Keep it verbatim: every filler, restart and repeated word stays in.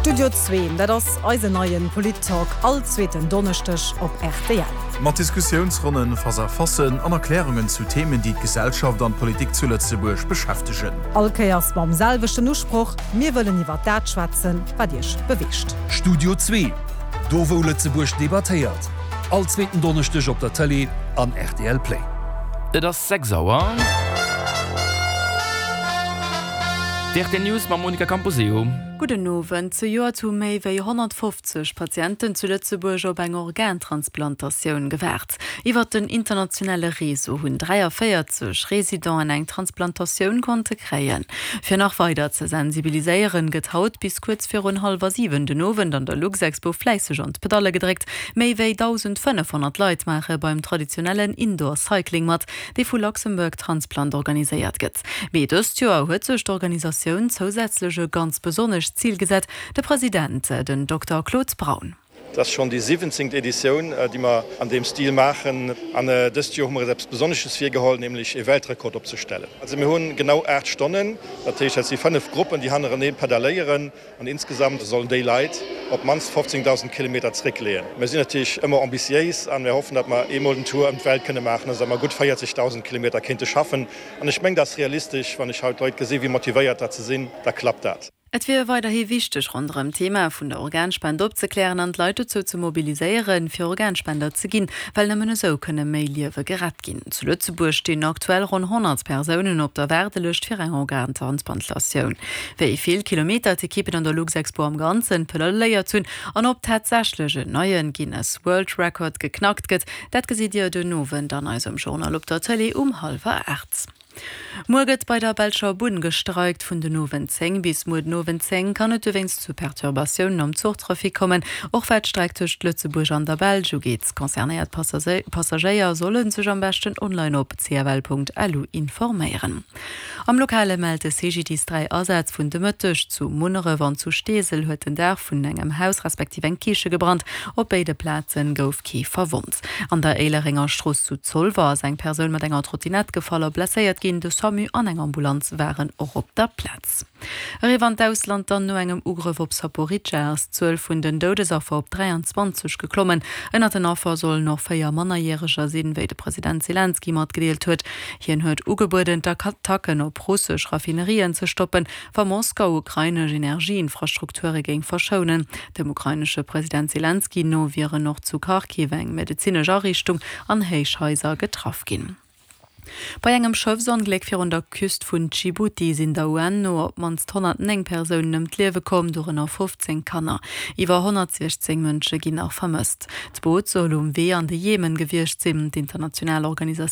Studio zwee, dat ass eisen neien Polit-Talk all zweeten Donneschdeg op R T L. Mat Diskussiounsronnen, Face-à-facen an Erklärungen zu Themen, déi d'Gesellschaft an d'Politik zu Lëtzebuerg beschäftegen. All Kéiers mam selwechten Usproch: Mir wëllen iwwer dat schwätzen, wat iech beweegt. Studio zwee, do wou Lëtzebuerg debattéiert. All zweeten Donneschdeg op der Tëlee an R T L Play. Et ass sechs Auer. D R T News mam Monica Camposeo. Gudden Owend. Zejoert hu méi wéi honnertfofzeg Patienten zu Lëtzebuerg op eng Organtransplantatioun gewaart. Iwwer den internationale Réseau hunn dräiavéierzeg Residenten eng Transplantatioun konnte kréien. Fir nach weider ze sensibiliséieren, gëtt haut bis kuerz virun hallwer siwen den Owend an der Luxexpo fläisseg an d'Pedalle gedréckt. Méi wéi dausendfënnefhonnert Leit maache beim traditionellen Indoor Cycling mat, dee vu Luxembourg Transplant organiséiert gëtt. Mee dëst Joer huet sech d'Organisatioun zousätzlech e ganz besonnescht Zil gesat, de President, den Dokter Claude Braun. Dat ass schonn déi siwwenzéngt Editioun, déi mer an deem Stil maachen. An dëst Joer hu mer eis eppes Besonnesches virgeholl, nämlech e Weltrekord opzestellen. Also mir hunn genau aacht Stonnen, dat heescht dat si fënnef Gruppen, déi hannerenee pedalléieren an insgesamt sollen déi Leit op d'mannst fofzéngdausend Kilometer zréckleeën. Mir sinn natierlech ëmmer ambitiéis an mir hoffen, datt mer eemol den Tour ëm d'Welt kënne maachen, also datt mer gutt véierzegdausend Kilometer kéinte schaffen. An ech mengen, dat ass realistesch, wann ech haut d'Leit gesi wéi motivéiert dat se sinn, da klappt dat. Et wier weiderhi wichteg, ronderëm d'Thema vun der Organspend opzeklären an d'Leit dozou ze mobiliséieren, fir Organspender ze ginn, well nëmmen esou kënne méi Liewe gerett ginn. Zu Lëtzebuerg stinn aktuell ronn honnert Persounen op der Waardelëscht fir eng Organtransplantatioun. Wéi vill Kilometer d'Ekippen an der Luxexpo am Ganzen pedalléiert hunn an ob tatsächlech en neie Guinness World Record geknackt gëtt, dat gesitt Dir den Owend an eisem Journal op der Tëlee um hallwer aacht. Muer gëtt bei der belscher Bunn gestreikt. Vun den Owend zéng bis muer den Owend zéng kann et dowéinst zu Perturbatiounen am Zuchtrafic kommen, och wat d'Streck tëscht Lëtzebuerg an der Belsch ugeet. Concernéiert Passagéier solle sech am beschten online op c f l Punkt l u informéieren. Am Lokale mellt de C G D I S dräi Asätz vun de Mëtteg. Zu Munneref an zu Steesel huet den Daach vun engem Haus respektiv eng Kiche gebrannt. Op béide Plaze gouf kee verwonnt. An der Éilerenger Strooss zu Zolwer ass eng Persoun mat enger Trottinett gefall a blesséiert ginn. De SAMU an eng Ambulanz waren och op der Plaz. Eriwwer an d'Ausland dann. No engem Ugrëff op Saporidschja ass d'Zuel vun den Doudesaffer op dräianzwanzeg geklommen. Ënnert den Affer sollen och véier Mannerjäreger sinn, wéi de President Selenskyj matgedeelt huet. Hien huet ugebueden, d'Attacken op russesch Raffinerien ze stoppen, wa Moskau ukrainesch Energieinfrastrukture géing verschounen. Dem ukrainesche President Selenskyj no wieren och zu Kharkiv eng medezinesch Ariichtung an Héichhaiser getraff ginn. Bei engem Schëffsongléck virun der Küst vun Dschibuti sinn der U N no op d'mannst honnertnéng Persounen ëm d'Liewe komm, dorënner fofzéng Kanner. Iwwer honnertsiechzéng Mënsche ginn nach vermësst. D'Boot soll um Wee an de Jemen gewiescht sinn. D'international Organisatioun